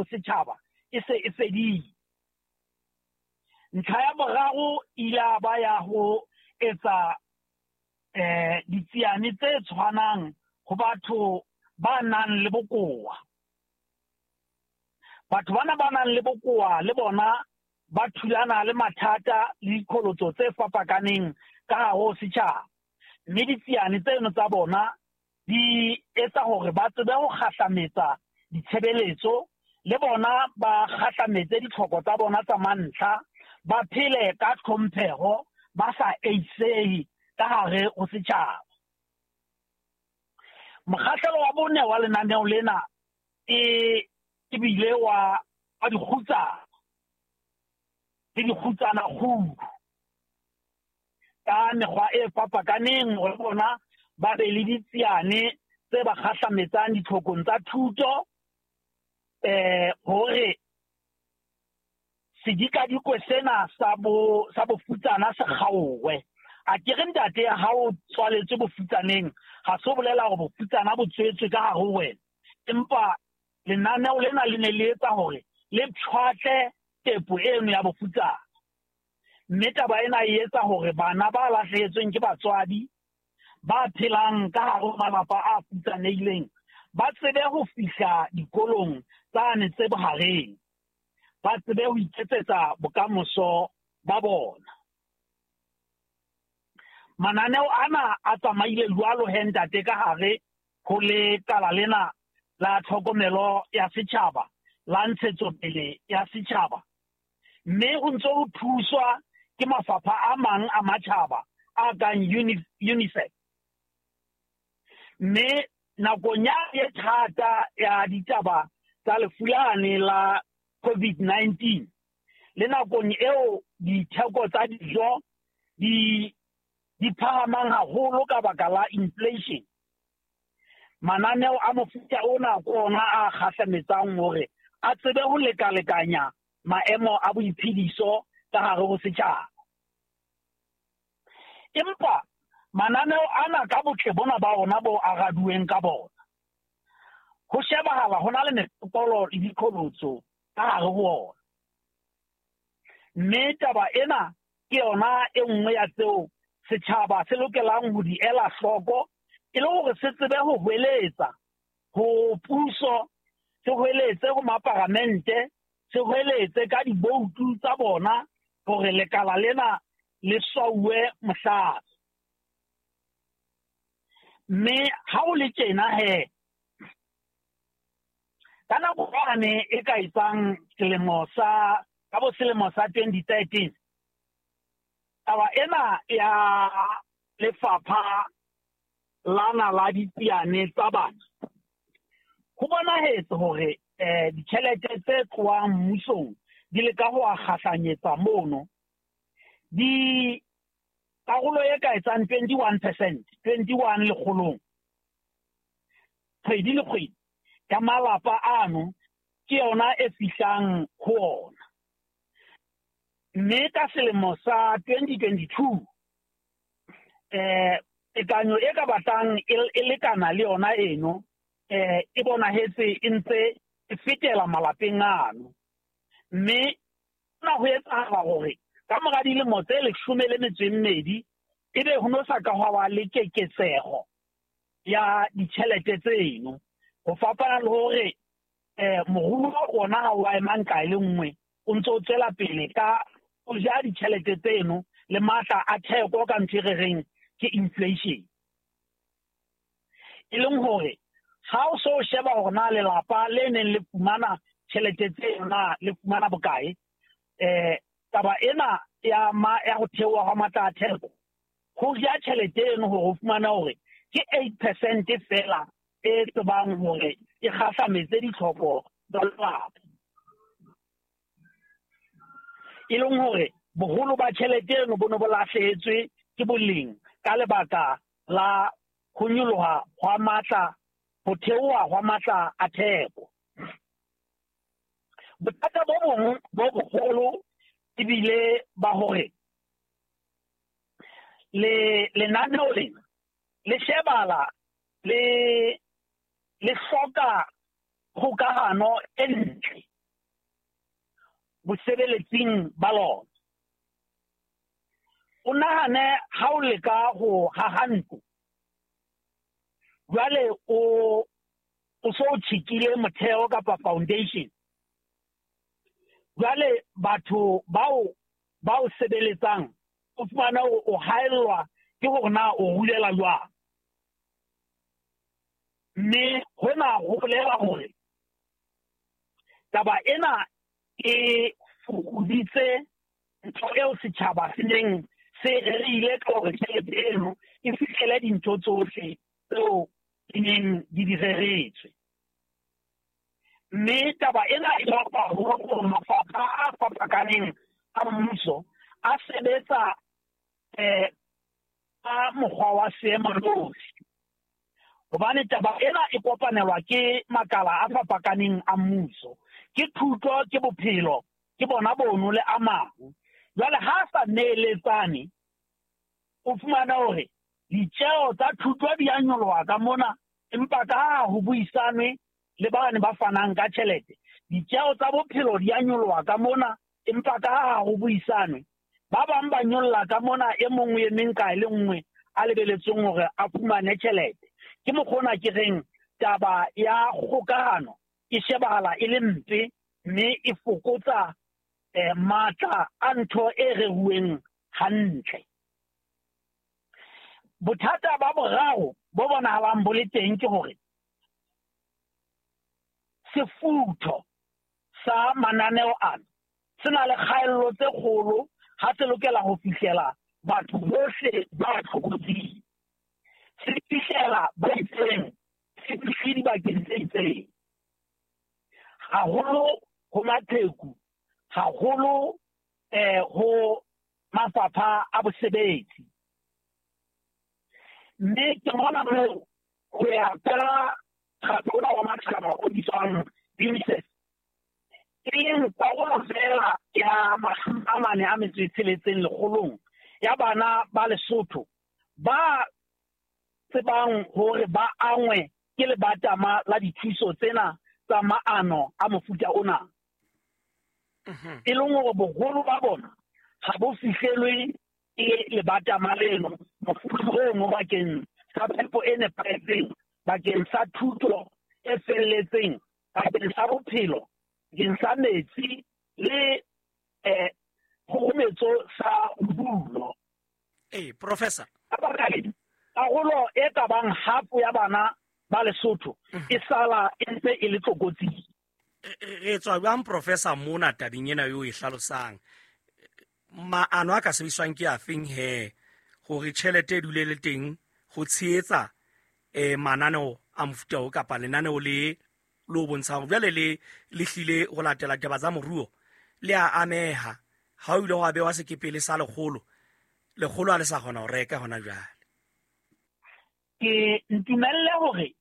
ho setjhaba e se e fedile. Ntlha ya boraro ile ya ba ya ho etsa ditsiane tse tshwanang ho batho ba nang le bokowa. Batho bana ba nang le bokowa le bona ba thulana le mathata le diqholotso tse fapakaneng ka hare ho setjhaba. Mme ditsiane tseno tsa bona di etsa hore ba tsebe ho kgahlametsa ditshebeletso, le bona ba kgahlametse ditlhoko tsa bona tsa mantlha, ba phele ka tlhompheho, ba sa eisehe ka hare ho setjhaba. Mokgahlelo wa bone wa lenaneo lena e ebile wa dikgutsana le dikgutsana kgulu ka mekgwa e fapakaneng hore bona ba be le ditsiane tse ba kgahlametsang ditlhokong tsa thuto, hore sedikadikwe sena sa bofutsana se kgaowe. A ke re ntate, ha o tswaletswe bofutsaneng, ha se bolela hore bofutsana bo tswetswe ka hare ho wena, empa lenaneo lena le ne le etsa hore le pshwatle tepo eno ya bofutsana. Mme taba ena e etsa hore bana ba lahlehetsweng ke batswadi, ba phelang ka hare ho malapa a futsanehileng, ba tsebe ho fihla dikolong tsane tse bohareng, ba tsebe ho iketsetsa bokamoso ba bona. Mananeo ana a tsamaile jwalo he ntate ka hare ho lekala lena la tlhokomelo ya setjhaba, la ntshetsopele ya setjhaba. Mme ho ntse ho thuswa ke mafapha a mang a matjhaba a kang UNICEF. Mme nakong ya e thata ya ditaba tsa lefu lane la COVID-19, le nakong eo ditheko tsa dijo di phahamang haholo ka baka la inflation, mananeo a mofuta ona ke ona a kgahlametsang hore a tsebe ho lekalekanya maemo a boiphediso ka hare ho setjhaba. Empa mananeo ana ka botle bona ba ona bo araduweng ka bona, ho shebahala ho na le mefokolo le diqholotso ka hare ho ona. Mme taba ena ke yona e nngwe ya tseo setjhaba se lokelang ho di ela hloko e le hore se tsebe ho hweletsa ho puso, se hweletse ho maparamente, se hweletse ka diboutu tsa bona hore lekala lena le swauwe mohlala. Mme ha o le tjena he, ka nako yane e ka etsang selemo sa ka bo selemo sa 2013, taba ena ya lefapha lana la ditsiane tsa bana, ho bonahetse hore ditjhelete tse tlohang mmusong di leka ho a kgahlanyetsa mono, di karolo e ka etsang 21%, 21 lekgolong, kgwedi le kgwedi ka malapa ano ke yona e fihlang ho ona. Mme ka selemo sa 2022, tekanyo e ka batlang e lekana le yona eno, e bonahetse e ntse e fetela malapeng ano. Mme hona ho etsahala hore ka mora dilemo tse 12 ebe ho no sa ka hwa ba le keketseho ya ditjhelete tseno, ho fapana le hore moruo ona ha o a ema nqa e le nngwe, o ntse o tswela pele ka o ja ditjhelete tseno le matla a theko ka ntho e re reng ke inflation. E leng hore ha o so sheba hore na lelapa le neng le fumana tjhelete tseno na le fumana bokae, taba ena ya ho theoha hwa matla a theko, ho ja tjhelete eno hore o fumane hore ke 8% fela e tsebang hore e kgahlametse ditlhoko tsa lelapa. E leng hore boholo ba tjhelete eno bo ne bo lahlehetswe ke boleng ka lebaka la ho nyoloha hwa matla, ho theoha hwa matla a theko. Bothata bo bong bo boholo ebile ba hore le lenaneo lena le shebala le hloka kgokahano e ntle bosebeletsing ba lona. O nahane ha o leka ho haha ntlo, jwale o so o tjhekile motheo kapa foundation. Jwale batho bao ba o sebeletsang o fumana o haellwa ke hore na o rulela jwang. Mme hona ho bolela hore taba ena e fokoditse ntho eo setjhaba se neng se rerile ka hore tjhelete eno e fihlele dintho tsohle tseo di neng di di reretswe. Mme taba ena e bapa hore mafapha a fapakaneng a mmuso a sebetsa ka mokgwa wa seemanosi. Hobane taba ena e kopanelwa ke makala a fapakaneng a mmuso. Ke thuto, ke bophelo, ke bona bono le a mang. Jwale ha sa neeletsane, o fumana hore ditjeo tsa thuto di a nyoloha ka mona, empa ka ha ho buisanwe le bane ba fanang ka tjhelete. Ditjeo tsa bophelo di a nyoloha ka mona, empa ka ha ho buisanwe. Ba bang ba nyolla ka mona, e mong o emeng kae le nngwe a lebeletsweng hore a fumane tjhelete. Ke mokgona ke reng taba ya kgokahano e shebahala e le mpe, mme e fokotsa matla a ntho e reruweng hantle. Bothata ba boraro bo bonahalang bo le teng ke hore sefutho sa mananeo ana se na le kgaello tse kgolo ha se lokela ho fihlela batho bohle ba tlokotsing. Se fihlela ba itseng, se fihle dibakeng tse itseng. Haholo ho maqheku, haholo ho mafapha a bosebetsi. Mme ke mona moo ho ya ka mokgatlo ona wa matjhaba o bitswang UNICEF, e leng karolo feela ya 46 lekgolong ya bana ba Lesotho ba tsebang hore ba angwe ke lebatama la dithuso tsena tsa maano a mofuta ona. E leng hore boholo ba bona ha bo fihlelwe ke lebatama leno, mofuta ono bakeng sa phepo e nepahetseng, bakeng sa thuto e felletseng, bakeng sa bophelo, bakeng sa metsi le kgometso sa bodulo. Professor. Ka baka lena, karolo e ka bang half ya bana ba Lesotho e sala e ntse e le tlokotsing. Re tswa jwang, Professor, mona tabeng ena eo e hlalosang? Maano a ka sebediswang ke afeng he hore tjhelete e dule le teng ho tshehetsa mananeo a mofuta o kapa lenaneo le lo bontshang hore jwale le hlile ho latela taba tsa moruo le a ameha ha o ile wa bewa sekepele sa lekgolo, lekgolo ha le sa kgona ho reka hona jwale. Ke ntumelle hore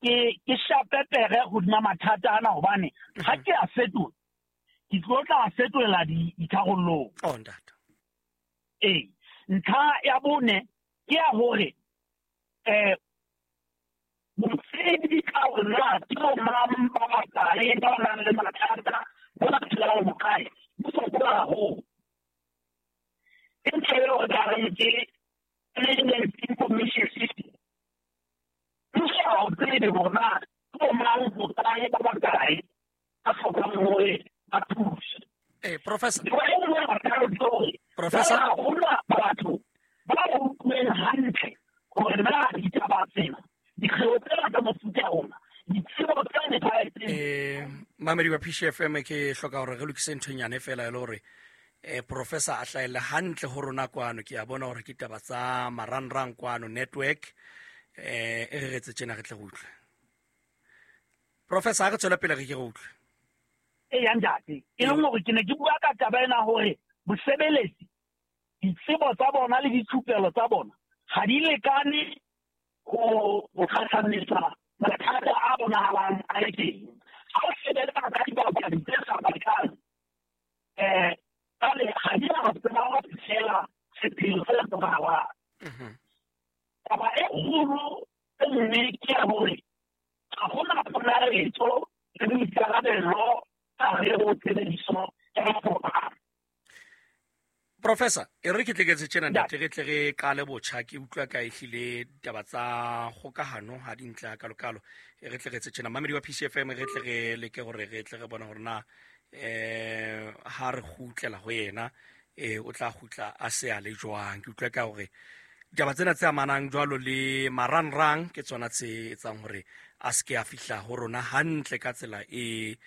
ke shape pere hodima mathata ana, hobane ha ke a fetola, ke tlo tla fetolela ditharollong. Oh, ntate. Ntlha ya bone ke ya hore botsebi ka hore na ke bo mang ba bakae ba nang le mathata, ba ba phelang hokae, bo fokola haholo. Ke ntho eo re ka reng ke management information system. Mmuso ha o tsebe hore na ke bo mang hokae ba bakae ba hlokang hore ba thuse. Professor. Ke bona e nngwe ya mathata ke hore Professor. ha hona batho ba utlweng hantle hore na ditaba tsena, dikgeo tsena tsa mofuta ona, ditsebo tse nepahetseng. Mamedi wa PCFM, ke hloka hore re lokise nthonyane feela e le hore Professor a hlahelle hantle ho rona kwano. Ke a bona hore ke taba tsa marangrang kwano network, e re retse tjena re tle re utlwe. Professor, ha re tswela pele re ke re utlwe. Eya, ntate, e leng hore ke ne ke bua ka taba ena hore bosebeletsi, ditsebo tsa bona le dithupelo tsa bona ha di lekane ho kgahlamisa mathata a bonahalang a le teng. Ha o sebetsa ka dibapadi tse sa batlang, jwale ha di na tseba ho fihlela sepheo se hlokahalang. Taba e kgolo e nngwe ke ya hore ha hona ponaletso le boikarabelo ka hare ho tshebediso ya Professor, e re ke tle ke tjena ntate, re tle re qale botjha, ke utlwa ka ehlile ditaba tsa kgokahano ha di ntle kalokalo. E re tle re etse tjena, mamedi wa PCFM, re tle re leke hore re tle re bone hore na ha re kgutlela ho yena o tla kgutla a se a le jwang. Ke utlwa ka hore ditaba tsena tse amanang jwalo le marangrang ke tsona tse etsang hore a se ke a fihla ho rona hantle ka tsela e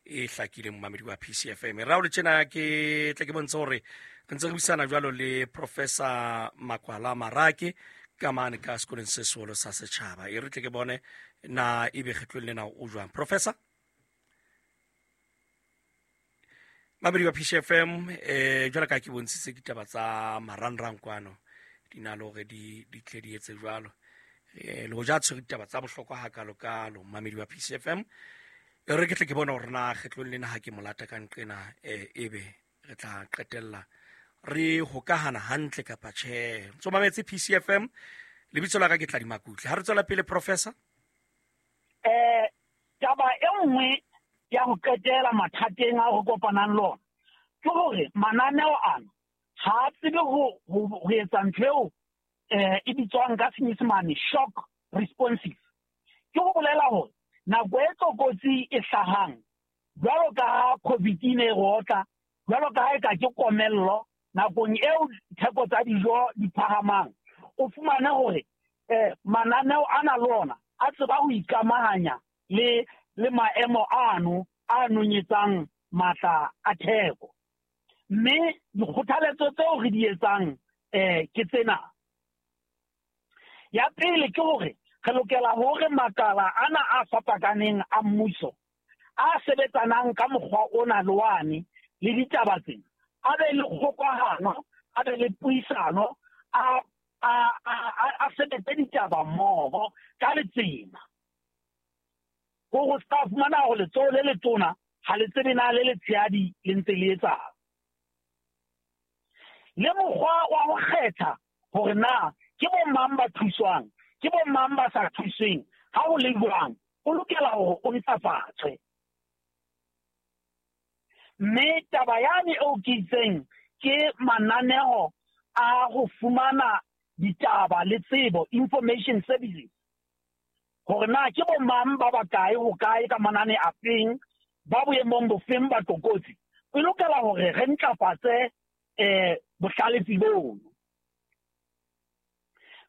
hlakileng, momamedi wa PCFM. Ra o le tjena ke tle ke bontshe hore re ntse re buisana jwalo le Professor Makwala Marake ka mane ka sekolong se seholo sa setjhaba. E re tle ke bone na ebe kgetlong lena o jwang. Professor mamedi wa PCFM, jwalo ka ke bontshitse ditaba tsa marangrang kwano di na le hore di tle di etse jwalo. Le hoja tshwere ditaba tsa bohlokwa hakalokalo, mamedi wa PCFM, e re ke tle ke bone hore na kgetlong lena ha ke molata ka nqena ebe re tla qetella re hokahana hantle kapa tjhe. Ntso mametse PCFM, lebitso la ka ke Tladi Makutle. Ha re tswela pele, Professor. Taba e nngwe ya ho qetela mathateng a ho kopanang le ona ke hore mananeo ana ha a tsebe ho etsa ntho eo e bitswang ka Senyesemane shock responsive. Ke ho bolela hore nako e tlokotsi e hlahang jwalo ka ha COVID e ne e rotla, jwalo ka ha e ka ke komello, nakong eo theko tsa dijo di phahamang, o fumane hore mananeo ana le ona a tseba ho ikamahanya le maemo ano a nonyetsang matla a theko. Mme dikgothaletso tseo re di etsang ke tsena. Ya pele ke hore re lokela hore makala ana a fapakaneng a mmuso a sebetsanang ka mokgwa ona le wane le ditaba tsena a be le kgokahano, a be le puisano, a sebetse ditaba mmoho ka letsema. Hore o ska fumana hore letsoho le letona ha le tsebe na le letshehadi le ntse le etsang. Le mokgwa wa ho kgetha hore na ke bo mang ba thuswang, ke bo mang ba sa thusweng, ha ho le jwang, o lokela hore o ntlafatswe. Mme taba yane eo ke itseng ke mananeo a ho fumana ditaba le tsebo, information services, hore na ke bo mang ba bakae ho kae ka manane a feng, ba boemong bofeng ba tlokotsi. E lokela hore re ntlafatse bohlalefi bono.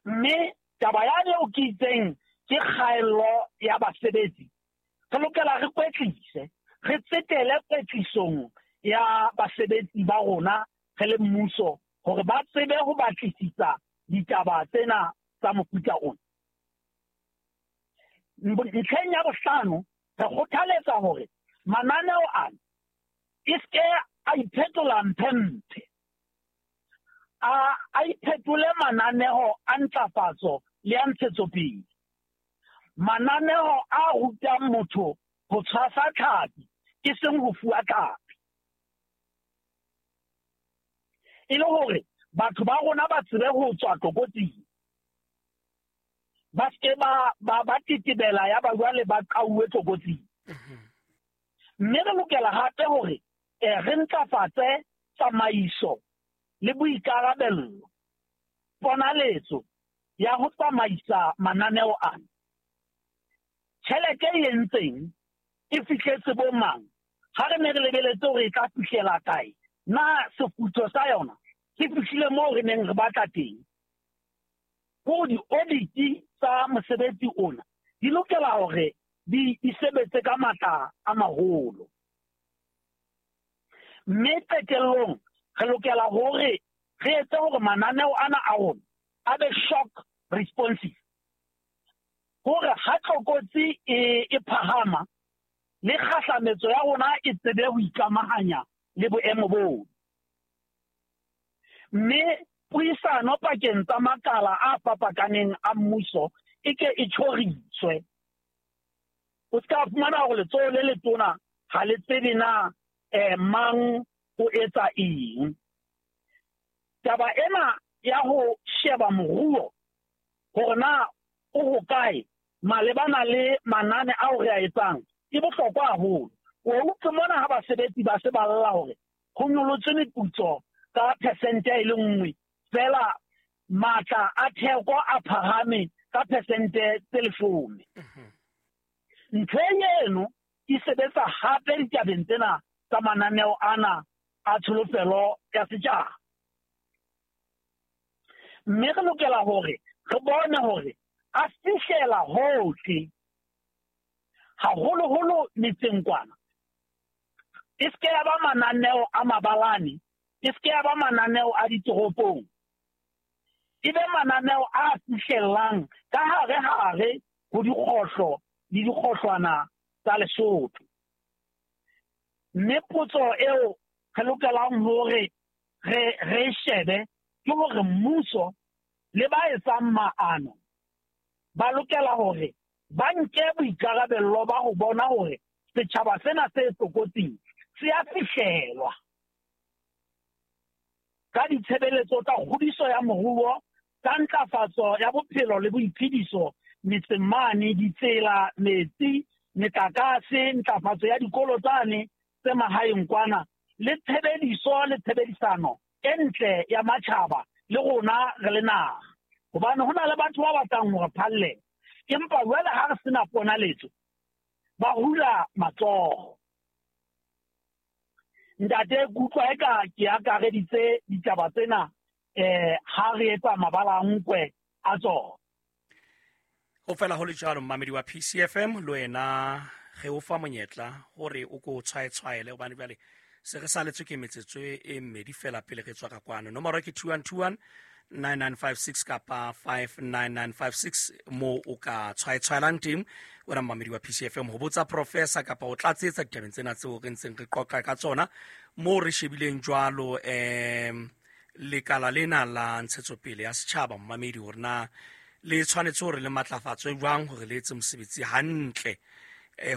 Mme taba yane eo ke itseng ke kgaello ya basebetsi, re lokela re kwetlise, re tsetele kwetlisong ya basebetsi ba rona re le mmuso hore ba tsebe ho batlisisa ditaba tsena tsa mofuta ona. Ntlheng ya bohlano, re kgothaletsa hore mananeo ana e ske a iphetola mphemphe, a iphetole mananeo a ntlafatso le a ntshetsopele, mananeo a rutang motho ho tshwasa tlhapi e seng ho fuwa tlhapi, e le hore batho ba rona ba tsebe ho tswa tlokotsing, ba ske ba tetebela ya ba jwale ba qauwe tlokotsing. Mme re lokela hape hore re ntlafatse tsamaiso le boikarabello, ponaletso ya ho tsamaisa mananeo ana. Tjhelete e entseng e fihletse bo mang? Ha re ne re lebeletse hore e tla fihlela kae, na sefutho sa yona se fihlile moo re neng re batla teng? Hore di-audit tsa mosebetsi ona di lokela hore di sebetse ka matla a maholo. Mme qetellong re lokela hore re etse hore mananeo ana a rona a be shock responsive, hore ha tlokotsi e phahama le kgahlametso ya rona e tsebe ho ikamahanya le boemo boo. Mme puisano pakeng tsa makala a fapakaneng a mmuso e ke e tjhoriswe. O ska fumana hore letsoho le letona ha le tsebe na mang o etsa eng. Taba ena ya ho sheba moruo hore na o hokae malebana le manane ao re a etsang e bohlokwa haholo. O utlwe mona ha basebetsi ba se ba lla hore ho nyolotswe meputso ka phesente e le nngwe fela, matla a theko a phahame ka phesente tse 10. Ntho eno e sebetsa hape ditabeng tsena tsa mananeo ana a tsholofelo ya setjhaba. Mme re lokela hore re bone hore a fihlela hohle, haholoholo metseng kwana. E se ke ya ba mananeo a mabalane, e se ke ya ba mananeo a ditoropong, e be mananeo a fihlellang ka hare-hare ho dikgohlo le dikgohlwana tsa Lesotho. Mme potso eo re lokelang hore re shebe ke hore mmuso le ba etsang maano ba lokela hore ba nke boikarabello ba ho bona hore setjhaba sena se tlokotsing se a fihlelwa ka ditshebeletso tsa kgodiso ya moruo, tsa ntlafatso ya bophelo le boiphediso metseng mane, ditsela, metsi, metlakase, ntlafatso ya dikolo tsane tse mahaeng kwana, le tshebediso le tshebedisano e ntle ya matjhaba le rona re le naha. Hobane ho na le batho ba batlang hore phallela, empa jwale ha re sena ponaletso, ba hula matsoho. Ntate, ke utlwa eka ke akareditse ditaba tsena ha re etsa mabala a nkwe a tsona. Ho fela ho le jwalo, mmamedi wa PCFM, le wena re o fa monyetla hore o ko tshwaetshwaele, hobane jwale se re saletswe ke metsotso e mmedi fela pele re tswa ka kwano. Nomoro ke 2121 9956 kapa 59956 mo o ka tshwaetshwaelang teng wena mmamedi wa PCFM ho botsa professor kapa o tlatsetsa ditabeng tsena tseo re ntseng re qoqa ka tsona mo re shebileng jwalo lekala lena la ntshetsopele ya setjhaba mmamedi hore na le tshwanetse hore le matlafatswe jwang hore le etse mosebetsi hantle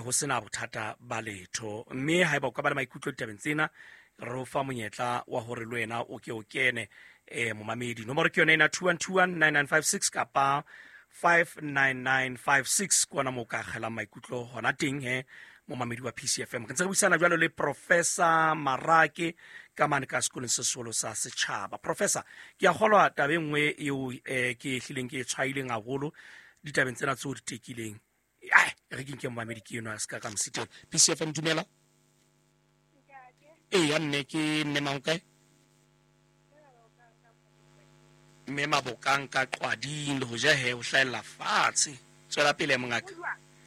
ho sena bothata ba letho. Mme haeba o ka ba le maikutlo ditabeng tsena, re o fa monyetla wa hore le wena o ke o kene momamedi. Nomoro ke yona ena 2121 9956 kapa 59956 ke ona moo ka akgelang maikutlo hona teng he momamedi wa PCFM. Re ntse re buisana jwalo le Professor Marake ka mane ka sekolong se seholo sa setjhaba. Professor, ke a kgolwa taba e nngwe eo ke hlileng ke e tshwaileng haholo ditabeng tsena tseo di tekileng. Ai, re ke nke momamedi ke enwa a se ka ka mositeng. PCFM, dumela. Eya mme, ke mme mang kae? Mme Mabokang ka Qwading, le hoja he o hlahella fatshe. Tswela pele mongaka.